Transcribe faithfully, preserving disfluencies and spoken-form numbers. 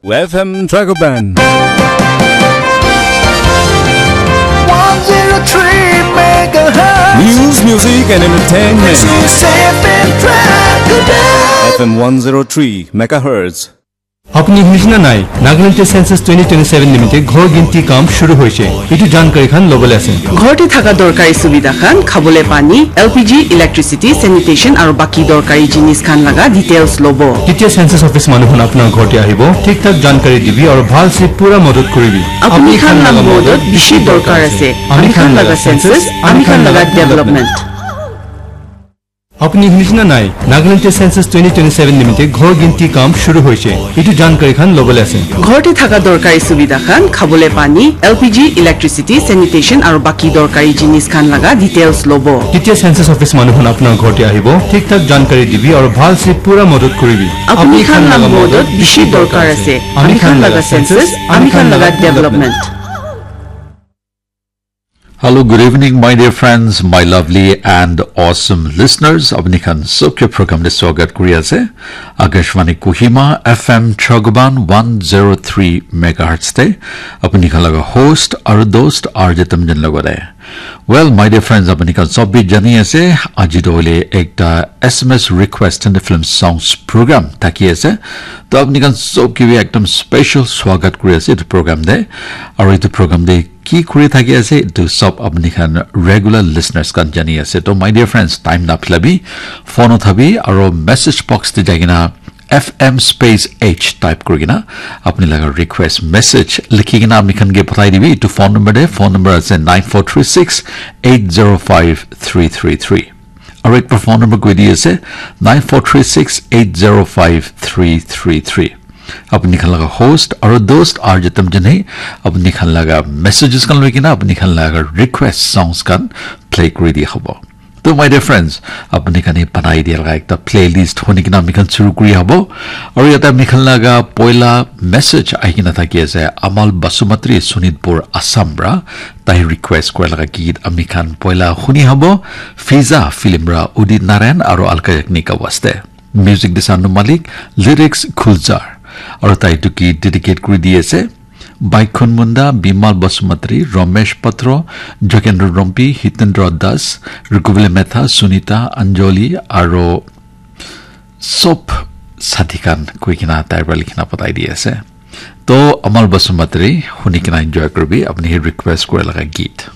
F M Dragoban. one zero three megahertz. News, music, and entertainment. Exclusive in Dragoban. F M one zero three megahertz. আপুনি শুনিছে নে নাই? নাগালেণ্ডত সেন্সাছ টুৱেণ্টি টুৱেণ্টি ছেভেন নিমিত্তে ঘৰ গিনতি কাম শুৰু হৈছে। এইটো জানকাৰী খান ল'বলৈ আছে। ঘৰতে থকা দৰকাৰী সুবিধা খান, খাবলৈ পানী, এল পি জি, ইলেক্ট্ৰিচিটি, চেনিটেশ্যন আৰু বাকী দৰকাৰী জিনিছ খান লগা ডিটেইলছ ল'ব। কেতিয়া সেন্সাছ অফিচ মানুহ খন আপোনাৰ ঘৰতে আহিব, ঠিক ঠাক জানকাৰী দিবি আৰু ভাল চে পুৰা মদত কৰিবি। আপুনি খান লগা মদত বেছি দৰকাৰ আছে। আমি খান লগা সেন্সাছ, আমি খান লগা ডেভেলপমেণ্ট। আপুনি শুনিছে নে নাই? নাগালেণ্ডত সেন্সাছ টুৱেণ্টি টুৱেণ্টি ছেভেন নিমিত্তে ঘৰ গিনতি কাম শুৰু হৈছে। এইটো জানকাৰী খান ল'বলৈ আছে। ঘৰতে থকা দৰকাৰী সুবিধা খান, খাবলৈ পানী, এল পি জি, ইলেক্ট্ৰিচিটি, চেনিটেশ্যন আৰু বাকী দৰকাৰী জিনিছ খান লগা ডিটেইলছ ল'ব। কেতিয়া সেন্সাছ অফিচ মানুহ খন আপোনাৰ ঘৰতে আহিব, ঠিক ঠাক জানকাৰী দিবি আৰু ভাল চে পুৰা মদত কৰিবি। আপুনি খান লগা মদত বেছি দৰকাৰ আছে। আমি খান লগা সেন্সাছ, আমি খান লগা ডেভেলপমেণ্ট। Hello, good evening, my dear friends, my lovely and awesome listeners. Apni khan sobke program te swagat kuri ase. Akashvani Kohima F M Dragoban one zero three megahertz te. Apni khan laga host aru dost R J Tamjen logode. Well, my dear friends, apni khan sob bhi jani ase, aji to hoile ekta S M S request and film songs program thaki ase. To apni khan sob ke bhi ekdam special swagat kuri ase etu program te. Aru etu program te ki kuri thaki ase, etu sob apni khan regular listeners khan jani ase. To my dear friends, time na philabi, phone uthabi, aru message box te jai kena F M space H type kuri kena apni laga request message likhi kena apni khan ke pathai dibi. Etu phone number te, phone number ase nine four three six eight zero five three three three. Aru ekbar phone number koi di ase, nine four three six eight zero five three three three. Apni khan laga host aru dost R J Tamjen he apni khan laga messages khan loi kena apni khan laga request songs khan play kuri di hobo. To my dear friends, apni khan he banai dia laga ekta playlist honi kena ami khan shuru kuri hobo. Aru yate ami khan laga poila message ahi kena thaki ase, Amal Basumatri, Sonitpur, Assam pra. Tai request kura laga git ami khan poila huni hobo, Fiza film pra Udit Narayan aru Alka Yagnik ka waste. Music dise Anu Malik, lyrics Gulzar. Aru tai etu git dedicate kuri di ase Baikhun Munda, Bimal Basumatri, Ramesh Patro, Jogendra Rompi, Hitendra Das, Rukubile Metha, Sunita, Anjali, aru sob sathi khan koi kena tai pra likhi kena pathai di ase. To Amal Basumatri, huni kena enjoy kuribi, apni he request kura laga git.